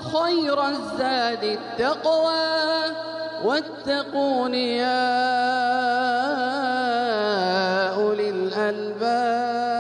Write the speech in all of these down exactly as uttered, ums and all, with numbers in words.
خير الزاد التقوى واتقون يا أولي الألباب.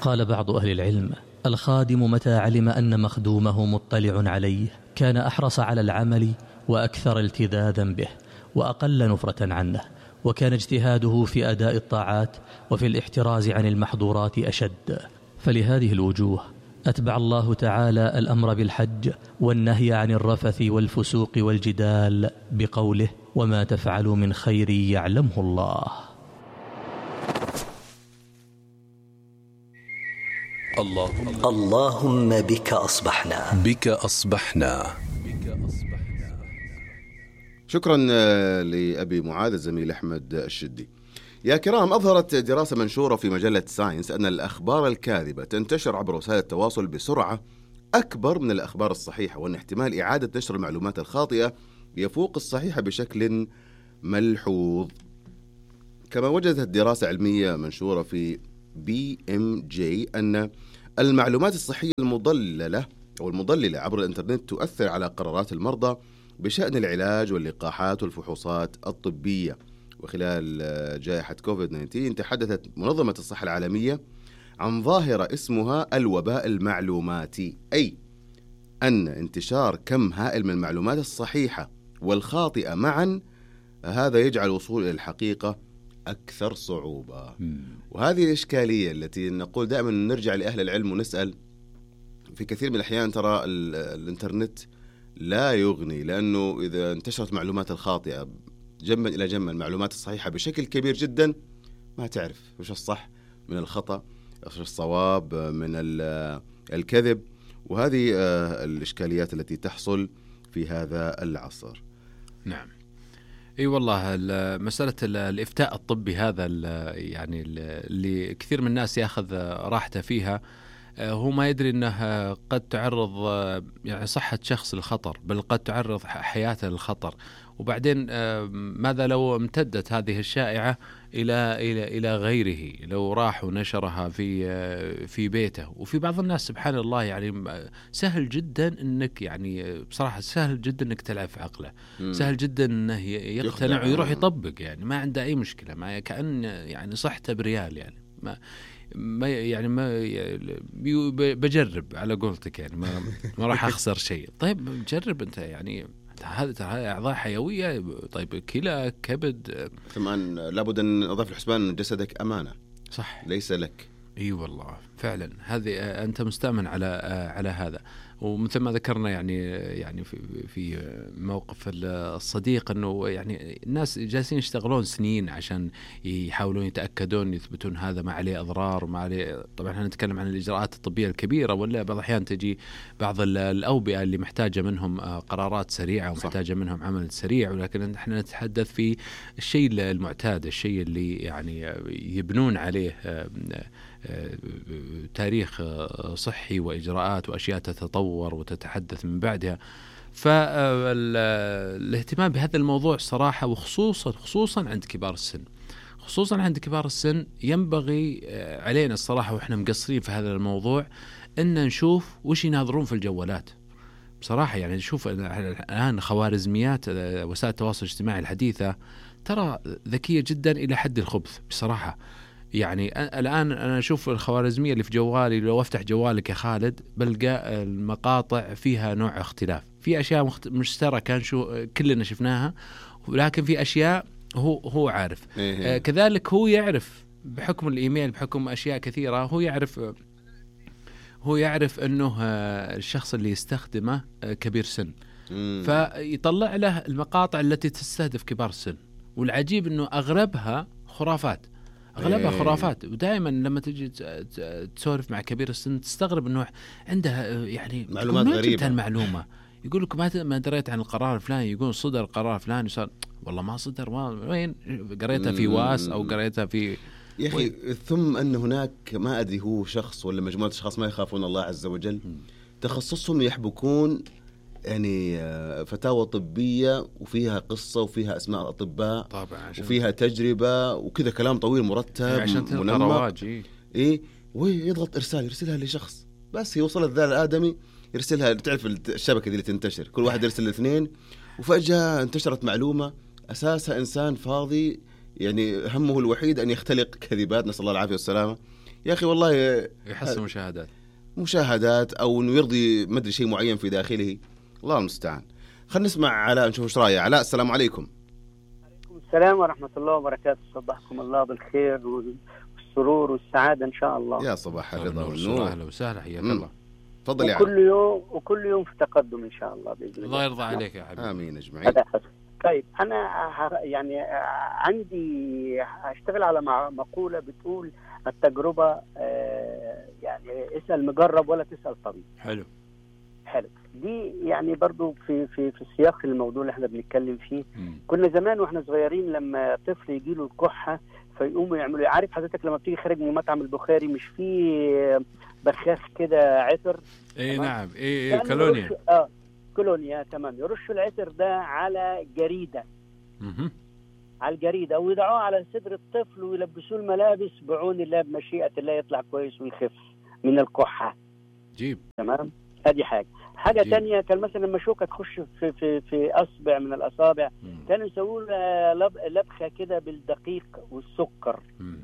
قال بعض أهل العلم: الخادم متى علم أن مخدومه مطلع عليه كان أحرص على العمل وأكثر التذاذا به وأقل نفرة عنه، وكان اجتهاده في أداء الطاعات وفي الاحتراز عن المحظورات أشد. فلهذه الوجوه أتبع الله تعالى الأمر بالحج والنهي عن الرفث والفسوق والجدال بقوله: وما تفعلوا من خير يعلمه الله. اللهم اللهم بك أصبحنا بك أصبحنا شكرا لأبي معاذ الزميل أحمد الشدي. يا كرام، أظهرت دراسة منشورة في مجلة ساينس أن الأخبار الكاذبة تنتشر عبر وسائل التواصل بسرعة أكبر من الأخبار الصحيحة، وأن احتمال إعادة نشر المعلومات الخاطئة يفوق الصحيحة بشكل ملحوظ. كما وجدت دراسة علمية منشورة في بي إم جي أن المعلومات الصحية المضللة أو المضللة عبر الإنترنت تؤثر على قرارات المرضى بشأن العلاج واللقاحات والفحوصات الطبية. وخلال جائحة كوفيد تسعة عشر تحدثت منظمة الصحة العالمية عن ظاهرة اسمها الوباء المعلوماتي، أي أن انتشار كم هائل من المعلومات الصحيحة والخاطئة معا هذا يجعل الوصول إلى الحقيقة أكثر صعوبة. وهذه الإشكالية التي نقول دائما نرجع لأهل العلم ونسأل في كثير من الأحيان ترى الإنترنت لا يغني، لأنه إذا انتشرت معلومات الخاطئة جنبا إلى جنب المعلومات الصحيحة بشكل كبير جدا ما تعرف وش الصح من الخطأ، وش الصواب من الكذب. وهذه الإشكاليات التي تحصل في هذا العصر. نعم، اي والله مسألة الإفتاء الطبي هذا يعني اللي كثير من الناس ياخذ راحته فيها، هو ما يدري أنه قد تعرض يعني صحة شخص للخطر، بل قد تعرض حياته للخطر. وبعدين ماذا لو امتدت هذه الشائعة إلى إلى إلى غيره، لو راح ونشرها في في بيته. وفي بعض الناس سبحان الله يعني سهل جدا إنك يعني بصراحة سهل جدا إنك تلعب في عقله، سهل جدا إنه يقتنع ويروح يطبق، يعني ما عنده أي مشكلة، ما كأن يعني صحته بريال، يعني ما ما يعني ما بجرب على قولتك، يعني ما ما راح أخسر شيء. طيب جرب أنت، يعني هذا هذه أعضاء حيوية، طيب كلى كبد. ثم لابد أن نضيف الحسبان أن جسدك أمانة، صح، ليس لك. اي والله فعلا، هذه انت مستأمن على على هذا. ومثل ما ذكرنا يعني يعني في في موقف الصديق انه يعني الناس جالسين يشتغلون سنين عشان يحاولون يتاكدون يثبتون هذا ما عليه اضرار وما عليه. طبعا احنا نتكلم عن الاجراءات الطبيه الكبيره، ولا بعض الاحيان تجي بعض الاوبئه اللي محتاجه منهم قرارات سريعه ومحتاجه منهم عمل سريع، ولكن احنا نتحدث في الشيء المعتاد، الشيء اللي يعني يبنون عليه تاريخ صحي وإجراءات وأشياء تتطور وتتحدث من بعدها. فالاهتمام بهذا الموضوع صراحة، وخصوصا خصوصا عند كبار السن، خصوصا عند كبار السن ينبغي علينا الصراحة وإحنا مقصرين في هذا الموضوع إن نشوف وش يناظرون في الجوالات. بصراحة يعني نشوف الآن خوارزميات وسائل التواصل الاجتماعي الحديثة ترى ذكية جدا إلى حد الخبث بصراحة. يعني الآن أنا أشوف الخوارزمية اللي في جوالي، لو أفتح جوالك يا خالد بلقى المقاطع فيها نوع اختلاف، في أشياء مخت... مشتركة شو كلنا شفناها، ولكن في أشياء هو هو عارف. آه كذلك هو يعرف بحكم الإيميل، بحكم أشياء كثيرة، هو يعرف هو يعرف أنه الشخص اللي يستخدمه كبير سن، فيطلع له المقاطع التي تستهدف كبار السن. والعجيب أنه أغلبها خرافات، أغلبها خرافات. ودائما لما تجي تسولف مع كبير السن تستغرب أنه عنده يعني معلومات غريبة. المعلومة يقول لك ما ما دريت عن القرار الفلاني، يقول صدر القرار الفلاني، صار والله ما صدر، ما وين قريتها في واس أو قريتها في يا أخي. ثم أن هناك ما أدري هو شخص ولا مجموعة أشخاص ما يخافون الله عز وجل، تخصصهم يحبكون يعني فتاوى طبية وفيها قصة وفيها أسماء أطباء طبعا، وفيها تجربة وكذا كلام طويل مرتب منمق، إيه ويضغط إرسال يرسلها لشخص بس يوصل الذال الآدمي يرسلها، تعرف الشبكة دي اللي تنتشر كل واحد يرسل الاثنين، وفجأة انتشرت معلومة أساسها إنسان فاضي يعني همه الوحيد أن يختلق كذبات، نسأل الله العافية والسلامة. يا أخي والله يحصل مشاهدات مشاهدات أو إنه يرضي مدري شيء معين في داخله، الله المستعان. خلينا نسمع علاء نشوف ايش رايه. علاء السلام عليكم. وعليكم السلام ورحمة الله وبركاته، صبحكم الله بالخير والسرور والسعادة إن شاء الله. يا صباح الرضا والنور. أهلا وسهلا، حياك الله. تفضل يا علاء. وكل يوم وكل يوم في تقدم إن شاء الله بإذن الله. الله يرضى عليك يا حبيبي. آمين أجمعين. طيب أنا يعني عندي أشتغل على مقولة بتقول التجربة يعني اسأل مجرب ولا تسأل طبيب. حلو حلو. دي يعني برضو في في في سياق الموضوع اللي احنا بنتكلم فيه. م. كنا زمان واحنا صغيرين لما طفل يجيله الكحة فيقوموا يعملوا، عارف حضرتك لما بتيجي خارج من مطعم البخاري مش في بخاخ كده عطر؟ اي نعم اي اي كولونيا. اه كولونيا تمام. يرشوا العطر ده على جريدة. م- على الجريدة ويضعوه على صدر الطفل ويلبسوه الملابس بعون الله بمشيئة الله يطلع كويس ويخف من الكحة. جيب تمام. هذه حاجة. حاجة جيب. تانية كان مثلا لما شوكة تخش في في في أصبع من الأصابع كانوا يسووا لب لبخة كده بالدقيق والسكر. م.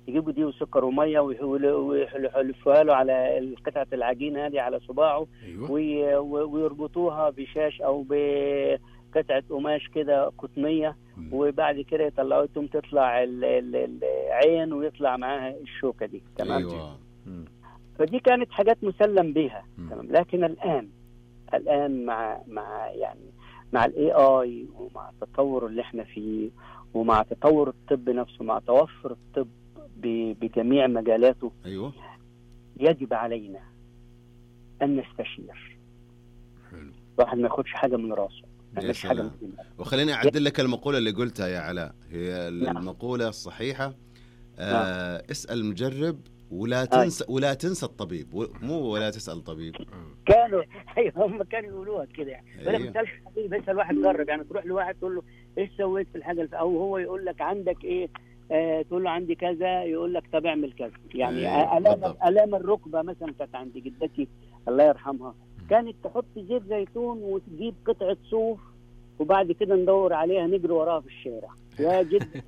يجيبوا دي وسكر ومية ويحلفوها له على قطعة العجين هذه على صباعه. أيوة. ويربطوها بشاش أو بقطعة قماش كده قطنية. م. وبعد كده يطلعوا تم تطلع العين ويطلع معاها الشوكة دي. تمام. أيوة. فدي كانت حاجات مسلم بها. تمام. لكن الآن الآن مع مع يعني مع الاي اي ومع التطور اللي احنا فيه ومع تطور الطب نفسه مع توفر الطب بجميع مجالاته. ايوه. يجب علينا ان نستشير. حلو. الواحد ما ياخدش حاجه من راسه. مش حاجه من وخليني اعدل لك المقوله اللي قلتها يا علاء، هي المقوله الصحيحه. آه اسال المجرب ولا تنسى ولا تنسى الطبيب، مو ولا تسأل طبيب. كانوا ايوه هم كانوا يقولوها كده يعني. ولا ما تسالش طبيب، اسال واحد جرب. يعني تروح لواحد تقول له ايش سويت في الحاجه، او هو يقول لك عندك ايه، آه تقول له عندي كذا، يقول لك طب اعمل كذا. يعني أيه. الام الام الركبه مثلا كانت عند جدتي الله يرحمها، كانت تحط زيت زيتون وتجيب قطعه صوف وبعد كده ندور عليها نجري وراها في الشارع. يا جد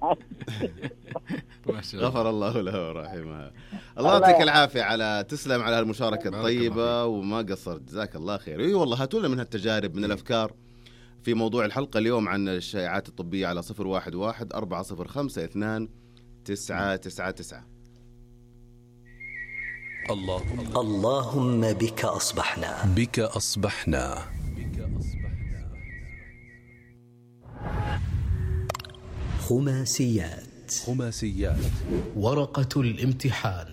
غفر الله له ورحمها. الله يعطيك العافية على تسلم على المشاركة الطيبة وما قصرت، جزاك الله خير. اي والله هاتوا لنا من هالتجارب من الأفكار في موضوع الحلقة اليوم عن الشائعات الطبية على صفر واحد واحد أربعة صفر خمسة اثنان تسعة تسعة تسعة. اللهم اللهم بك أصبحنا بك أصبحنا خماسيات خماسيات ورقة الامتحان.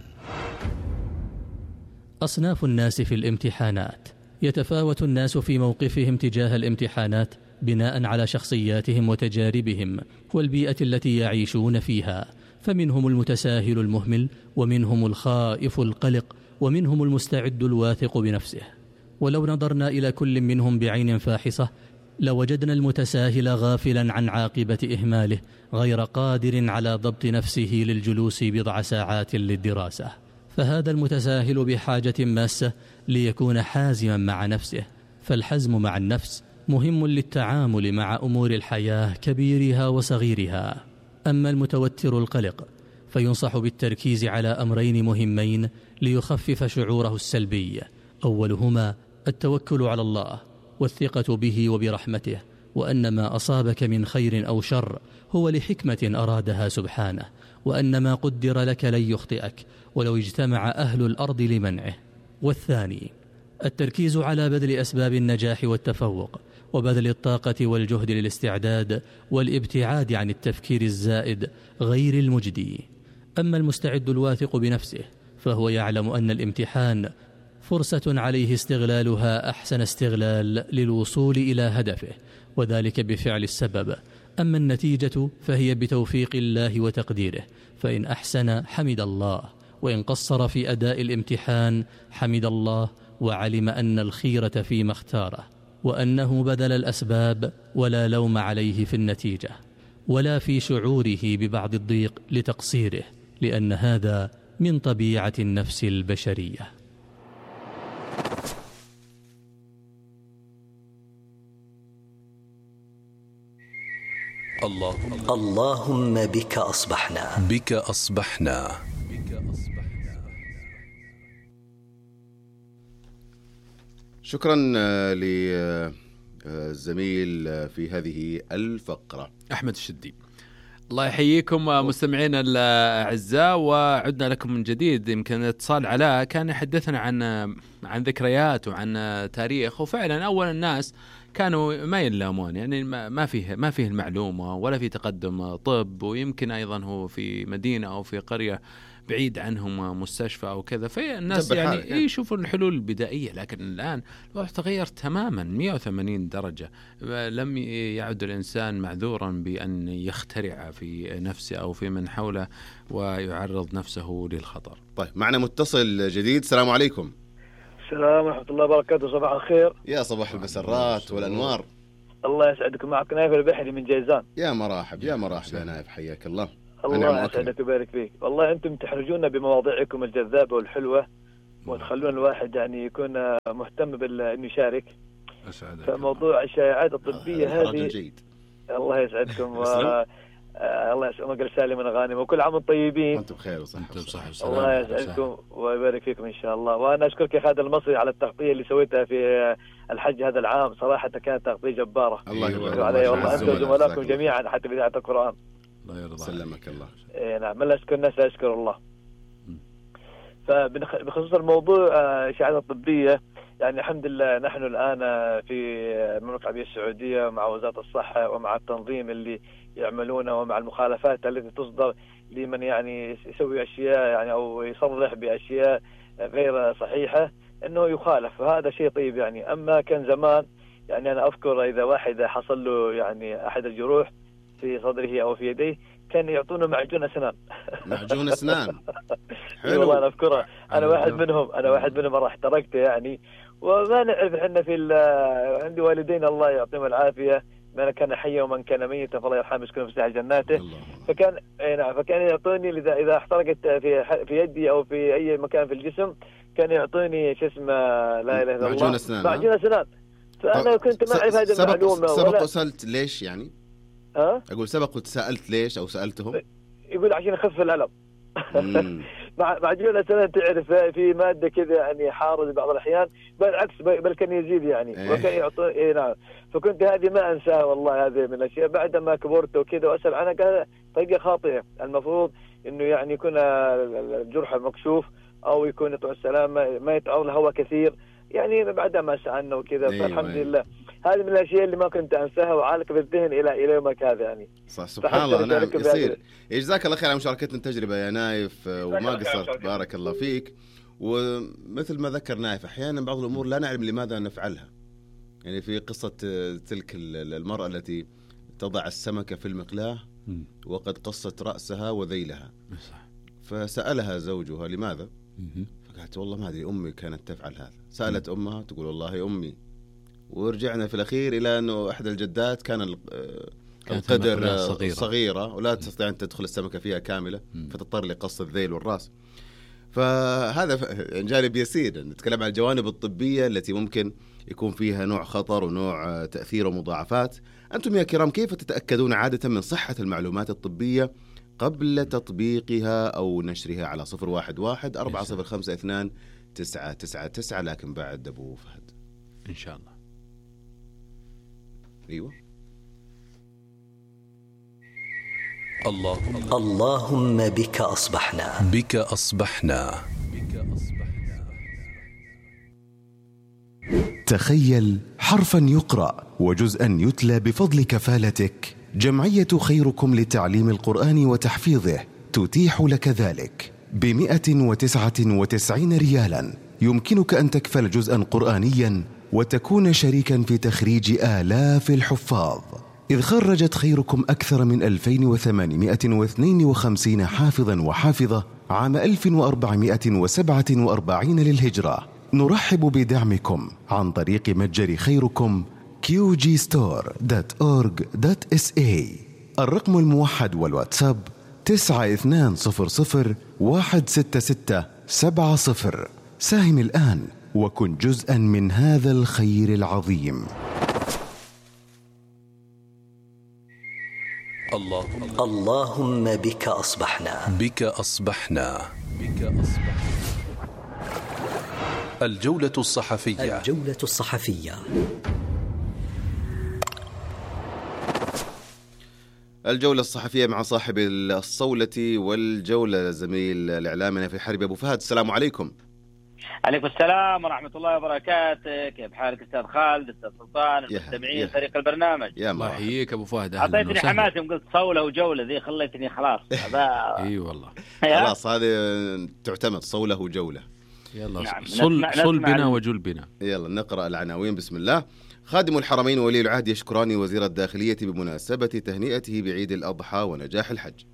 أصناف الناس في الامتحانات. يتفاوت الناس في موقفهم تجاه الامتحانات بناء على شخصياتهم وتجاربهم والبيئة التي يعيشون فيها، فمنهم المتساهل المهمل، ومنهم الخائف القلق، ومنهم المستعد الواثق بنفسه. ولو نظرنا إلى كل منهم بعين فاحصة لوجدنا المتساهل غافلا عن عاقبة إهماله، غير قادر على ضبط نفسه للجلوس بضع ساعات للدراسة. فهذا المتساهل بحاجة ماسة ليكون حازما مع نفسه، فالحزم مع النفس مهم للتعامل مع أمور الحياة كبيرها وصغيرها. أما المتوتر القلق فينصح بالتركيز على أمرين مهمين ليخفف شعوره السلبي، أولهما التوكل على الله والثقة به وبرحمته، وأن ما أصابك من خير أو شر هو لحكمة أرادها سبحانه، وأن ما قدر لك لن يخطئك ولو اجتمع أهل الأرض لمنعه. والثاني التركيز على بذل أسباب النجاح والتفوق، وبذل الطاقة والجهد للاستعداد والابتعاد عن التفكير الزائد غير المجدي. أما المستعد الواثق بنفسه فهو يعلم أن الامتحان فرصة عليه استغلالها أحسن استغلال للوصول إلى هدفه، وذلك بفعل السبب. أما النتيجة فهي بتوفيق الله وتقديره، فإن أحسن حمد الله، وإن قصر في أداء الامتحان حمد الله وعلم أن الخيرة فيما اختاره، وأنه بذل الأسباب ولا لوم عليه في النتيجة ولا في شعوره ببعض الضيق لتقصيره، لأن هذا من طبيعة النفس البشرية. الله اللهم بك أصبحنا. بك أصبحنا. شكرا للزميل في هذه الفقرة أحمد الشدي. الله يحييكم مستمعينا الأعزاء، وعدنا لكم من جديد. يمكن اتصال علاء كان يحدثنا عن عن ذكريات وعن تاريخ، وفعلا أول الناس كانوا ما يلامون، يعني ما فيه ما فيه المعلومة ولا في تقدم طب، ويمكن أيضا هو في مدينة أو في قرية بعيد عنهم مستشفى أو كذا، فالناس يعني يعني. يشوفوا الحلول البدائية. لكن الآن الوضع تغير تماما مئة وثمانين درجة. لم يعد الإنسان معذورا بأن يخترع في نفسه أو في من حوله ويعرض نفسه للخطر. طيب معنا متصل جديد. السلام عليكم. السلام ورحمة الله وبركاته. صباح الخير. يا صباح المسرات والأنوار. الله يسعدكم. معك نايف البحري من جيزان. يا مراحب يا مراحب يا نايف، حياك الله. الله يسعدك ويبارك فيك. والله أنتم تحرجونا بمواضيعكم الجذابة والحلوة، وتخلون الواحد يعني يكون مهتم بأنه يشارك. فموضوع الشائعات الطبية هذه الله يسعدكم. و... الله يسعدكم وقل سالم من غانم، وكل عام وانتم طيبين. وانتم بخير وصحة. الله يسعدكم ويبارك فيكم إن شاء الله. وأنا أشكرك يا خالد المصري على التغطية اللي سويتها في الحج هذا العام، صراحة كانت تغطية جبارة. الله يبارك عليه والله، أنت وزملائكم جميعا حتى في إذاعة القرآن. الله يرضى سلمك الله. إيه نعم، من لا أشكر الناس أشكر الله. فبخصوص الموضوع الإشاعات الطبية، يعني الحمد لله نحن الآن في المملكة العربية السعودية مع وزارة الصحة ومع التنظيم اللي يعملونه ومع المخالفات التي تصدر لمن يعني يسوي أشياء يعني أو يصرح بأشياء غير صحيحة أنه يخالف، وهذا شيء طيب يعني. أما كان زمان يعني أنا أذكر إذا واحد حصل له يعني أحد الجروح في صدره أو في يديه كان يعطونه معجون أسنان. معجون أسنان. حلو والله أنا أذكرها. أنا واحد منهم أنا واحد منهم راح تركته يعني. وما نعرف إحنا في عندي والدين الله يعطيهم العافية، من كان حيا ومن كان ميتا فالله يرحمه يسكنه في ساحة جناته. فكان نعم فكان يعطوني إذا إذا احترقت في في يدي أو في أي مكان في الجسم كان يعطوني شو اسمه لا إله إلا الله معجون أسنان. معجون أسنان. فأنا كنت ما أعرف هذه المعلومة. سبق وسألت ليش يعني؟ ها؟ أقول سبق وسألت ليش أو سألتهم؟ يقول عشان يخف الألم. مع معجون الأسنان تعرف في مادة كذا يعني حارة بعض الأحيان، بالعكس بل كان يزيد يعني. إيه. وكان يعطي إيه نعم. فكنت هذه ما أنساها والله، هذه من الأشياء بعد ما كبرت وكذا وأسأل عنها قال طريقة خاطئة. المفروض إنه يعني يكون الجرح مكشوف أو يكون يطلع السلامة ما يتعرض الهواء كثير يعني بعد ما سألنا وكذا. أيوة فالحمد أيوة. لله هذه من الأشياء اللي ما كنت أنساها وعالق في الذهن إلى إلى يومك هذا يعني. صح سبحان الله. نعم يصير. جزاك الله خير على مشاركتنا التجربة يا نايف، وما قصرت بارك الله فيك. ومثل ما ذكر نايف أحيانا بعض الأمور لا نعلم لماذا نفعلها. يعني في قصة تلك المرأة التي تضع السمكة في المقلاة وقد قصت رأسها وذيلها، فسألها زوجها لماذا؟ فقالت والله ما أدري، أمي كانت تفعل هذا. سألت أمها تقول والله أمي. ورجعنا في الأخير إلى أنه أحد الجدات كان القدر صغيرة. صغيرة ولا تستطيع أن تدخل السمكة فيها كاملة، فتضطر لقص الذيل والرأس. فهذا جانب يسير. نتكلم عن الجوانب الطبية التي ممكن يكون فيها نوع خطر ونوع تأثير ومضاعفات. أنتم يا كرام كيف تتأكدون عادة من صحة المعلومات الطبية قبل تطبيقها أو نشرها على صفر واحد واحد أربعة صفر خمسة اثنان تسعة تسعة تسعة، لكن بعد أبو فهد إن شاء الله. أيوة. الله اللهم بك أصبحنا. بك أصبحنا. تخيل حرفا يقرأ وجزءا يتلى بفضل كفالتك. جمعية خيركم لتعليم القرآن وتحفيظه تتيح لك ذلك بمئة وتسعة وتسعين ريالا. يمكنك أن تكفل جزءا قرآنيا وتكون شريكا في تخريج آلاف الحفاظ، إذ خرجت خيركم أكثر من ألفين وثمانمئة واثنين وخمسين حافظا وحافظة عام ألف وأربعمئة وسبعة وأربعين للهجرة. نرحب بدعمكم عن طريق متجر خيركم كيو جي ستور دوت أورج دوت إس إيه. الرقم الموحد والواتساب تسعة اثنان صفر صفر واحد ستة ستة سبعة صفر. ساهم الآن وكن جزءا من هذا الخير العظيم. اللهم اللهم بك أصبحنا بك أصبحنا بك أصبحنا الجولة الصحفية الجولة الصحفية الجولة الصحفية مع صاحب الصولة والجولة زميل الإعلامنا في حرب أبو فهد. السلام عليكم. عليكم السلام ورحمة الله وبركاته. كيف حالك أستاذ خالد، أستاذ سلطان، المستمعين فريق البرنامج؟ يا الله يحييك أبو فهد. أعطيتني حماسي وقلت صولة وجولة ذي، خليتني خلاص. إي والله خلاص هذه تعتمد صولة وجولة. يلا نعم. صل, صل بنا وجل بنا. يلا نقرأ العناوين. بسم الله. خادم الحرمين وولي العهد يشكران وزير الداخلية بمناسبة تهنئته بعيد الأضحى ونجاح الحج.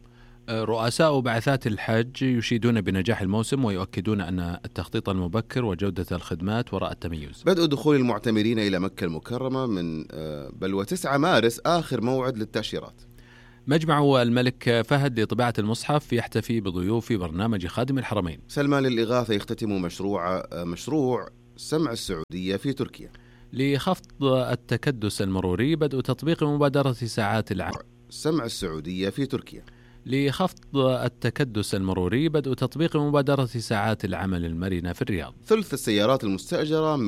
رؤساء بعثات الحج يشيدون بنجاح الموسم ويؤكدون أن التخطيط المبكر وجودة الخدمات وراء التميز. بدء دخول المعتمرين إلى مكة المكرمة من بل وتسعة مارس آخر موعد للتأشيرات. مجمع الملك فهد لطباعة المصحف يحتفي بضيوف برنامج خادم الحرمين. سلمان للإغاثة يختتم مشروع مشروع سمع السعودية في تركيا. لخفض التكدس المروري بدء تطبيق مبادرة ساعات العمل. سمع السعودية في تركيا. لخفض التكدس المروري بدء تطبيق مبادرة ساعات العمل المرنة في الرياض. ثلث السيارات المستأجرة